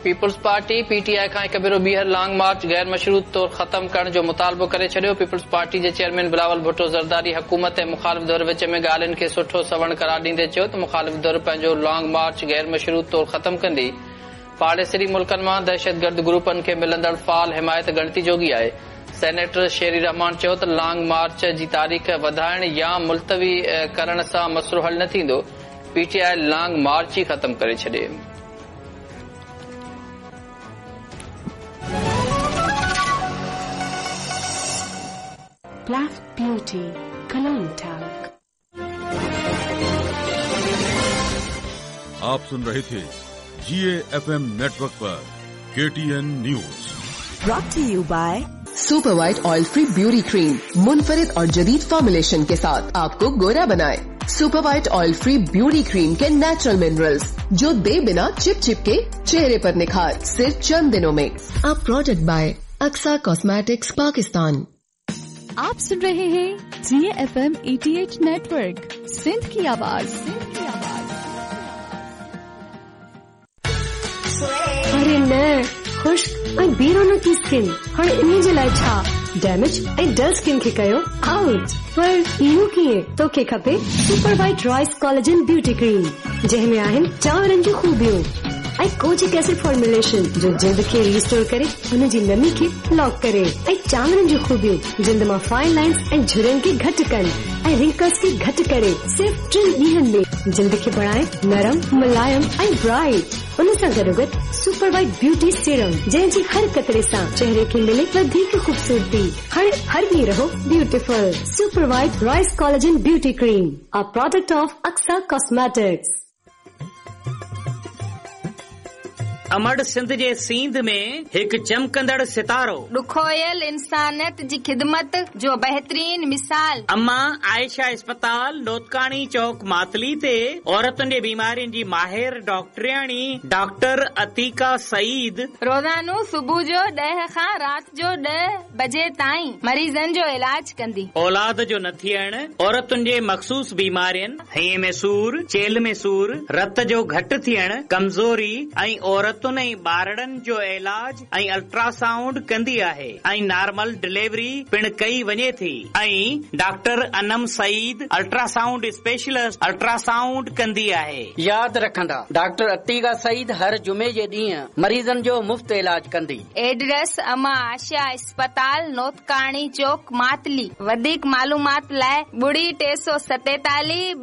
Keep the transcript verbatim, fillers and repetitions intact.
Peoples party P T I खां हिकु भेरो ॿीहर लॉन्ग मार्च गैर मशरूत तौर ख़त्म करण जो मुतालबो करे छॾियो। पीपल्स पार्टी जे चेयरमैन बिलावल भुट्टो ज़रदारी हुकूमत ऐं मुखालिफ़ धुर विच में ॻाल्हियुनि खे सुठो सवण करार ॾींदे चयो त मुखालिफ़ धुर पंहिंजो लॉन्ग मार्च गैर मशरूत तौर ख़त्म कंदी। पाड़ेसरी मुल्कनि मां दहशतगर्द ग्रुपनि खे मिलंदड़ फ़ाल हिमायत ॻणती जोगी आहे। सेनेटर शेरी रहमान चयो त लॉन्ग मार्च जी तारीख़ वधाइण या मुलतवी करण सां मसइलो हल न थींदो। P T I long march ई ख़त्म करे छॾे। Black Beauty Cologne Talc। आप सुन रहे थे जी एफ एम नेटवर्क पर के T N news. Brought to you by super white oil free beauty cream, मुनफरिद और जदीद फॉर्मुलेशन के साथ आपको गोरा बनाए। Super white oil free beauty cream के नेचुरल मिनरल्स जो दे बिना चिप चिप के चेहरे पर निखार सिर्फ चंद दिनों में। A product by Aksa cosmetics Pakistan. आप सुन रहे हैं G F M eighty eight network, Sindh की आवाज। सिंध की आवाज। अरे न, खुश्क ऐं बेरौनकी स्किन हाणे इन जे लाइ छा? डैमेज ऐं डल स्किन खे कयो आउट। पर इहो कीअं? तोखे खपे super white rice collagen beauty cream, जंहिं में आहिनि चांवरनि जूं ख़ूबियूं ऐं कोजिक एसिड फॉर्मुलेशन जो जिल्द खे रिस्टोर करे, हुन जी नमी खे लॉक करे ऐं चांवरनि जूं ख़ूबियूं जिल्द मां फाइन लाइन्स ऐं झुरियुनि खे घटि कनि ऐं रिंकल्स खे घटि करे सिर्फ़ टिनि ॾींहंनि में जिल्द खे बणाए नरम, मुलायम ऐं ब्राइट। उन सां गॾोगॾु सुपर वाइट ब्यूटी सीरम जंहिंजी हर कतरे सां चेहरे खे मिले वधीक ख़ूबसूरती। हाणे हर ॾींहुं रहो beautiful. Super white rice collagen beauty cream, a product of Aksa cosmetics. अमड़ Sindh जे सींध में हिकु चमकंदड़ सितारो, ॾुखोयल इंसानियत जी ख़िदमत जो बहितरीन मिसाल। अम्मा आयशा अस्पताल नोतकाणी चौक मातली ते औरतुनि जे बीमारियुनि जी माहिर डॉक्टरियाणी डॉक्टर अतीका सईद रोज़ानो सुबुह जो ॾह खां राति जो ॾह बजे ताईं मरीज़नि जो इलाज कंदी। औलाद जो न थियण, औरतुनि जे मख़सूस बीमारियुनि, हईं में सूर, चेल में सूर, रत जो घटि थियण, कमज़ोरी ऐं औरत ऐं ॿारड़नि जो इलाज ऐं अल्ट्रासाउंड कंदी आहे ऐं नॉर्मल डिलीवरी पिण कई वञे थी। ऐं doctor Anam Saeed ultrasound specialist ultrasound कंदी आहे। यादि रखंदा, डॉक्टर अतीका सईद हर जुमे जे ॾींहुं मरीज़नि जो मुफ़्त इलाज कंदी। एड्रेस अमा आशा अस्पताल नोतकाणी चौक मातली। वधीक मालूमात लाइ ॿुड़ी टे सौ सतेतालीह।